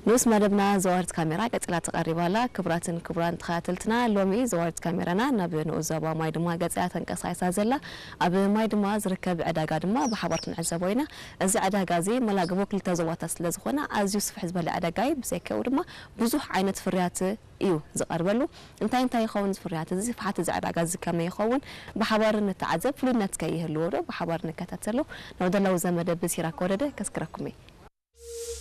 ንኡስ መደብና ዘዋርት ካሜራ ቀጺላ ትቐሪብ ኣላ። ክቡራትን ክቡራን ተኸታተልትና፣ ሎሚ ዘዋርት ካሜራና ናብ ንኡስ ዞባ ማይ ድማ ገጻ ተንቀሳይሳ ዘላ። ኣብ ማይ ድማ ዝርከብ ዕዳጋ ድማ ብሓባር ክንዕዘቦ ኢና። እዚ ዕዳጋ እዚ መላግቦ ክልተ ዞባታት ስለ ዝኾነ ኣዝዩ ስፍሕ ዝበለ ዕዳጋ እዩ። ብዘይካኡ ድማ ብዙሕ ዓይነት ፍርያት እዩ ዝቐርበሉ። እንታይ እንታይ ይኸውን እዚ ፍርያት እዚ? ስፍሓት እዚ ዕዳጋ እዚ ከመይ ይኸውን? ብሓባር ንተዓዘብ። ፍሉይነት ከ ይህልዎ ዶ? ብሓባር ንከታተሎ። ናብ ደላዊ ዘመደ ብሲራ ከወደደ ከስክረኩም እየ።